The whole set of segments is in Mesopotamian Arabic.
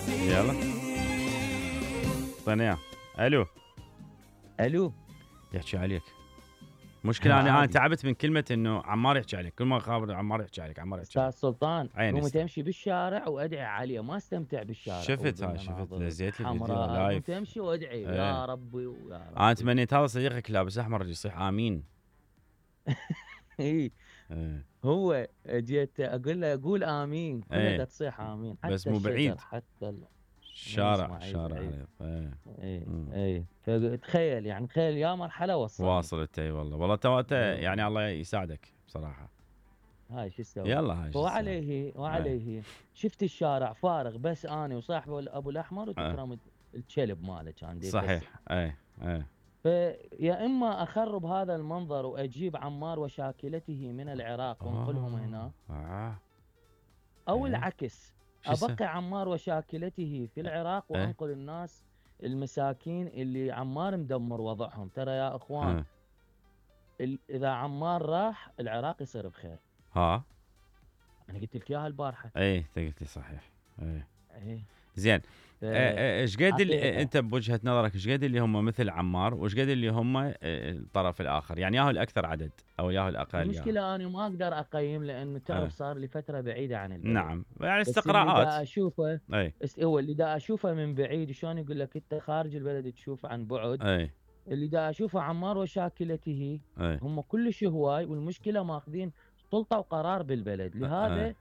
يلا اعطينا اياه. الو الو يحكي عليك. مشكلة انا تعبت من كلمة انه عمار يحكي عليك، كل ما اخابر عمار يحكي عليك عمار يحكي استاذ عليك. سلطان قوم تمشي بالشارع وادعي عليه، ما استمتع بالشارع. شفت نزيت لي فيديو حمراء لايف. قوم تمشي وادعي يا ربي ويا ربي. انا تمنيت هذا صديقك لابس احمر يصيح امين. اي هو جيت اقول له قول امين، كلها تصيح امين، حتى بس مو بعيد، حتى الشارع اي فتخيل يعني تخيل يا مرحله واصلت. اي والله تو يعني الله يساعدك بصراحه. هاي شو اسوي؟ يلا هاي وعليه شفت الشارع فارغ بس انا وصاحبه ابو الاحمر وتكرم الكلب ماله كان صحيح. اي فيا اما اخرب هذا المنظر واجيب عمار وشاكلته من العراق وانقلهم هنا، او العكس ابقي عمار وشاكلته في العراق وانقل الناس المساكين اللي عمار مدمر وضعهم. ترى يا اخوان اذا عمار راح العراق يصير بخير. انا قلت لك اياها البارحه. انت قلت لي صحيح. زين. ايش قد انت بوجهه نظرك ايش قد اللي هم مثل عمار وايش قد اللي هم الطرف الاخر، يعني ياهو الاكثر عدد او ياهو الاقل؟ المشكله انا ما اقدر اقيم لانه تعرف صار لي فتره بعيده عن البلد. نعم يعني استقراءات. اللي دا اشوفه هو اللي دا اشوفه من بعيد، شلون يقول لك انت خارج البلد تشوف عن بعد. اللي دا اشوفه عمار وشاكلته هم كلش هواي، والمشكله ماخذين سلطه وقرار بالبلد. لهذا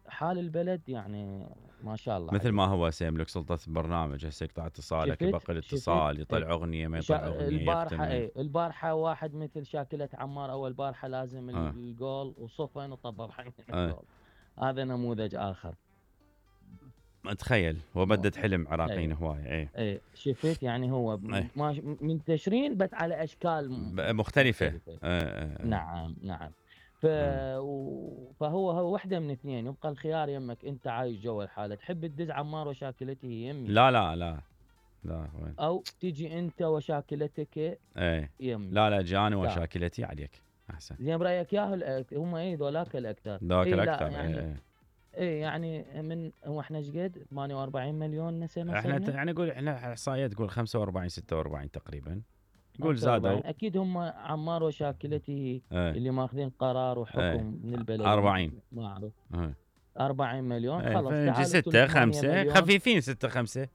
حال البلد يعني ما شاء الله مثل ما هو سيملك سلطة البرنامج، هسه يقطع اتصالك يبقى الاتصال، يطلع اغنية ما يطلع اغنية. البارحة واحد مثل شاكلة عمار اول بارحة لازم الجول وصفن وطبب حين الجول. هذا نموذج اخر. تخيل وبدت حلم عراقيين هواي. شفت يعني هو منتشرين بس على اشكال مختلفة. نعم فهو وحده من اثنين، يبقى الخيار يمك. انت عايش جوا الحاله تحب تدز عمار وشاكلته يمي، لا وين؟ او تجي انت وشاكلتك يمي. لا جاني وشاكلتي عليك احسن. زين برايك ياهو هم ذولاك الاكثر. الاكثر. يعني من هو احنا ايش قد 48 مليون نسمه احنا يعني نقول احنا احصائيات تقول 45 46 تقريبا، قول زادوا. اكيد هم عمار وشاكلته اللي ماخذين قرار وحكم من البلد 40 ما اعرف 40 مليون. خلاص تعالوا 6 5 خفيفين 6 5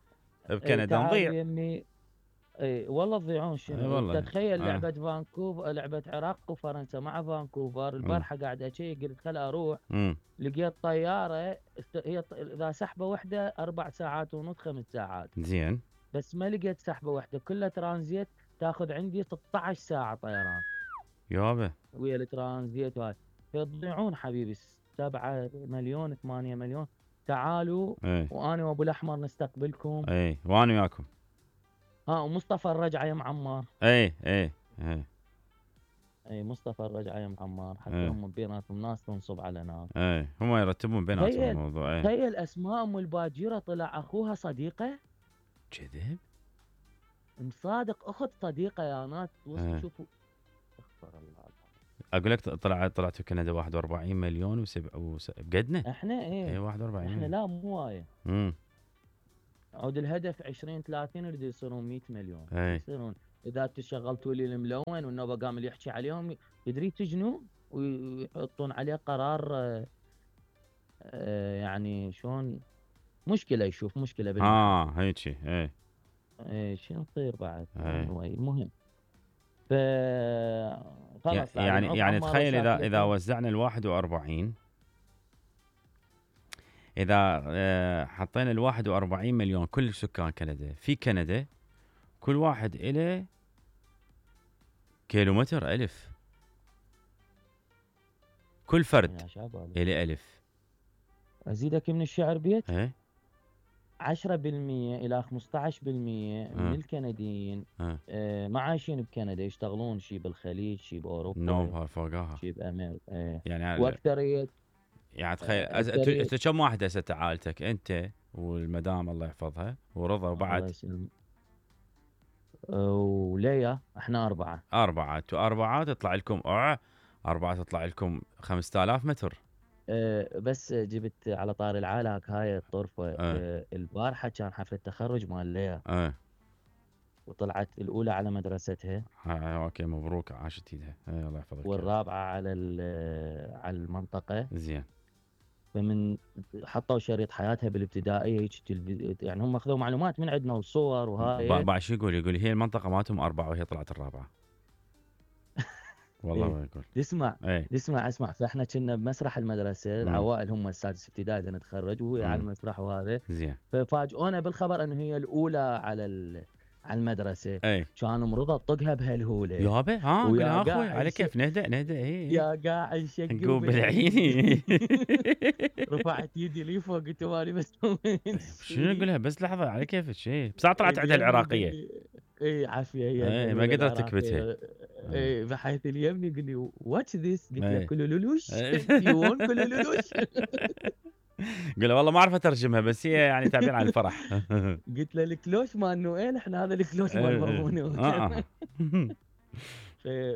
بكندا نضيع. والله تضيعون. شنو تتخيل لعبه فانكوفر، لعبه عراق وفرنسا مع فانكوفر البارحه قاعد اشيك قلت خل اروح لقيت طياره هي اذا سحبه واحده 4 ساعات ونص 5 ساعات. زين بس ما لقيت سحبه واحده كلها ترانزيت تاخذ عندي 16 ساعه طيران يابا ويا الترانزيت وهاي. فتضيعون حبيبي 7 مليون 8 مليون. تعالوا وانا وابو الاحمر نستقبلكم. وانا وياكم. ومصطفى الرجعه يا معمار. اي مصطفى الرجعه يا معمار حتى هم بيناتهم ناس تنصب على ناس. هم يرتبون بيناتهم الموضوع. تخيل اسماء ام الباجيره طلع اخوها صديقه. كذب مصادق اخت صديقه يا ناس. شوفوا استغفر الله. اقول لك طلعت كندا 41 مليون بقدنا احنا 41 احنا لا مو وايد. عود الهدف 2030 يريد يصيرون 100 مليون. يصيرون اذا تشغلتوا لي الملون والنوبه قام اللي يحكي عليهم يدري تجنوا ويحطون عليه قرار. يعني شلون مشكله يشوف مشكله هيك شو نصير بعد. المهم خلاص يعني تخيل اذا وزعنا ال 41، اذا حطينا ال 41 مليون كل سكان كندا في كندا كل واحد إله كيلومتر 1000، كل فرد إله 1000. ازيدك من الشعر بيت 10% الى 15% من الكنديين ما عايشين بكندا، يشتغلون شي بالخليج شي باوروبا فوقها شي بامريكا. يعني واكثريه يعني تخيل انت كم واحد هسه عائلتك انت والمدام الله يحفظها ورضا وبعد وليا احنا 4 تطلع لكم 4 تطلع لكم 5000 متر. بس جبت على طار العالك هاي الطرفة. البارحة كان حفلة تخرج مال ليا. وطلعت الأولى على مدرستها. اوكي مبروك، عاشت ايدها، الله يحفظك. والرابعة على على المنطقة. زين. فمن حطوا شريط حياتها بالابتدائية يعني هم اخذوا معلومات من عندنا وصور وهاي. بعد شو يقول هي المنطقة مالتهم 4 وهي طلعت الرابعة. والله ما يقول. اسمع فاحنا كنا بمسرح المدرسة. العوائل هم السادس ابتدائي بدنا نتخرج وهي على المسرح وهذا. زين. ففاجئونا بالخبر انه هي الأولى على المدرسة. كان مرضى طقها بهالهولة يابا. قلها اخوي على كيف نهدأ. يا قاعد نقوم بالعين. رفعت يدي لي فوق قلت ماني بس شنو نقولها بس لحظة على كيفك بس طلعت عندها العراقية. عافية هي. ما قدرت تكبتها. بحيث اليمني يقول لي واتش ذيس قلت له كلولولوش يو ون كلولولوش. قال والله ما اعرف اترجمها بس هي يعني تعبير عن الفرح. قلت له الكلوش مال نويل احنا هذا الكلوش مال مرمونه.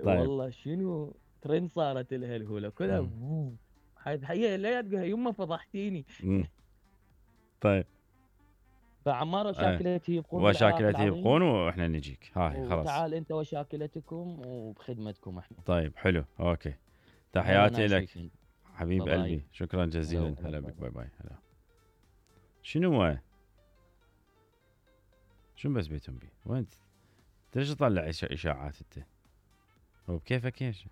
والله شنو ترند صارت لها الهوله كلها. هي لا تقول يمه فضحتيني. طيب. فعمار وشاكلته يبقون. وشاكلته يبقون واحنا نجيك. هاي خلاص. تعال انت وشاكلتكم وبخدمتكم احنا. طيب حلو اوكي. تحياتي لك حبيب قلبي. شكرا جزيلا. هلا بك. باي باي. هلا. شنو هو؟ شنو بس بيتهم بي؟ وين انت ليش تطلع اشاعات انت؟ هو بكيفك ايش؟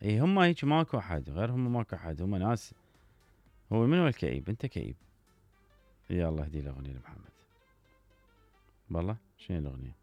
اي هم هيك ماكو احد غيرهم، ماكو احد، هم ناس. هو من هو الكئيب؟ انت كئيب. يا الله اهدي الاغنيه لمحمد. والله شنو الاغنيه؟